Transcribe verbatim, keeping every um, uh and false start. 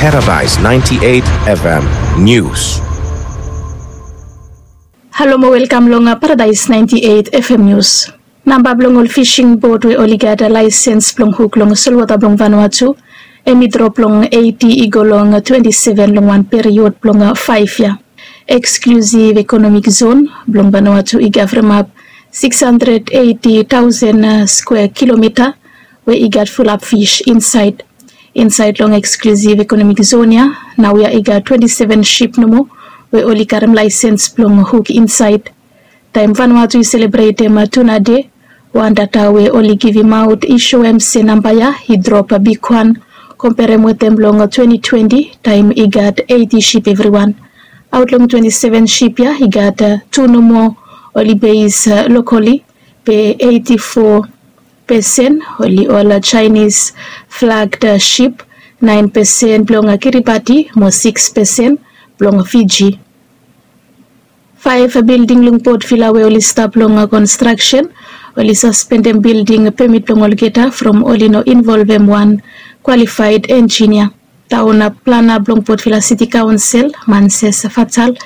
Paradise ninety-eight F M News. Halo mo welkam long Paradise ninety-eight F M News. Namba blong ol fishing boat we oli gat laesens blong huk long solwota blong Vanuatu, hemi drop long eiti i go long twenti seven long wan period blong faef yia. Eksklusiv ekonomik zon blong Vanuatu i gavremap siks handred eiti taosen skwea kilomita we i gat fulap fis insaed. Insaed long eksklusiv ekonomik zon ya, naoia i gat twenti seven sip nomo we oli karem laesens blong huk insaed. Taem Vanuatu i selebretem tuna de, wan data we oli givimaot i soem se namba ya i drop bigwan komperem wetem blong twenti twenti, taem i gat eiti sip evriwan. Aot long twenti seven sip ya i gat tu nomo oli beis lokoli, be eiti fo pesen oli ol Chinese flagged sip, naen pesen blong Kiribati mo siks pesen blong Fiji. Faef bilding long Port Vila we oli stap long konstraksen, oli saspendem bilding pemit blong olgeta from oli no involvem wan kwalifaed enjinia. Taon plana blong Port Vila Siti Kaonsel, Manses Fatal,